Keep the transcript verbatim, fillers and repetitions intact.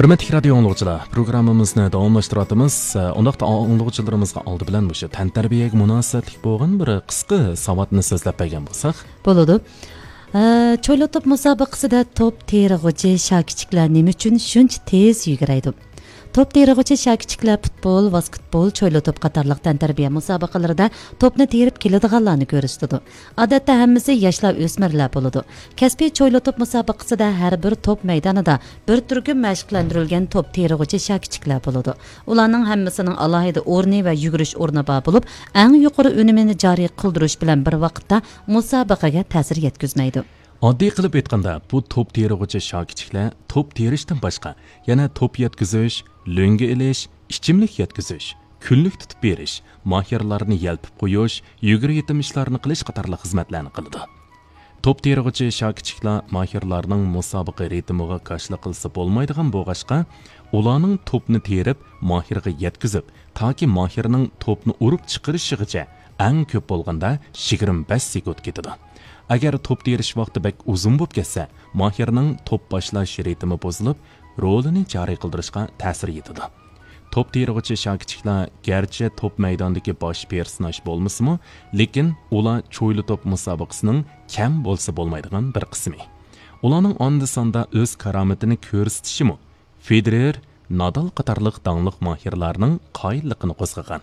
ھۆرمەتلىك رادىيو ئاڭلىغۇچىلار، پروگراممىمىزنى داۋاملاشتۇرۇۋاتىمىز. ئۇنداقتا ئاڭلىغۇچىلىرىمىزغا ئالدى بىلەن مۇشۇ تەنتەربىيەگە مۇناسىۋەتلىك بولغان بىر قىسقا ساۋاتنى سۆزلەپ بەرگەن بولساق. بولىدۇ. ئە، چويلا توپ مۇسابىقىسىدە توپ تېرىغۇچى شاكىچىكلار نېمە ئۈچۈن شۇنچە تېز يۈگۈرەيدۇ؟ توپ تېرىغۇچى شاكىچىكلار پۇتبول، ۋاسكېتبول، چويلا توپ قاتارلىق تەنتەربىيە مۇسابىقىلىرىدە توپنى تېرىپ كېلىدىغانلارنى كۆرسىتىدۇ. ئادەتتە ھەممىسى ياشلار، ئۆسمۈرلەر بولىدۇ. كەسپىي چويلا توپ مۇسابىقىسىدە ھەر بىر توپ مەيدانىدا بىر تۈركۈم مەشىقلەندۈرۈلگەن توپ تېرىغۇچى شاكىچىكلار بولىدۇ. ئۇلارنىڭ ھەممىسىنىڭ ئالاھىدە ئورنى ۋە يۈگۈرۈش ئورنى بار بولۇپ، ئەڭ يۇقىرى ئۈنۈمىنى جارى قىلدۇرۇش بىلەن بىر ۋاقىتتا مۇسابىقىگە تەسىر يەتكۈزمەيدۇ. ئاددىي قىلىپ ئېيتقاندا، بۇ توپ تېرىغۇچى شاكىچىكلار توپ تېرىشتىن باشقا، يەنە توپ يەتكۈزۈش، لۆڭگە ئېلىش، ئىچىملىك يەتكۈزۈش، كۈنلۈك تۇتۇپ بېرىش، ماھىرلارنى يەلپۈپ قويۇش، يۈگۈر يېتىم ئىشلارنى قىلىش قاتارلىق خىزمەتلەرنى قىلىدۇ. توپ تېرىغۇچى شاكىچىكلار ماھىرلارنىڭ مۇسابىقە رىتىمىغا كاشىلا قىلسا بولمايدىغان بولغاچقا، ئۇلارنىڭ توپنى تېرىپ، ماھىرغا يەتكۈزۈپ، تاكى ماھىرنىڭ توپنى ئۇرۇپ چىقىرىشىغىچە ئەڭ كۆپ بولغاندا يىگىرمە بەش سېكۇنت كېتىدۇ. ئەگەر توپ تېرىش ۋاقتى بەك ئۇزۇن بولۇپ كەتسە، ماھىرنىڭ توپ باشلاش رىتىمى بۇزۇلۇپ، رولىنى جارى قىلدۇرۇشقا تەسىر يېتىدۇ. توپ تېرىغۇچى شاكىچىكلار گەرچە توپ مەيداندىكى باش پېرسوناژ بولمىسىمۇ، لېكىن ئۇلار چويلا توپ مۇسابىقىسىنىڭ كەم بولسا بولمايدىغان بىر قىسمى. ئۇلارنىڭ ئاندا-ساندا ئۆز كارامىتىنى كۆرسىتىشىمۇ فېدېرېر، نادال قاتارلىق داڭلىق ماھىرلارنىڭ قايىللىقىنى قوزغىغان.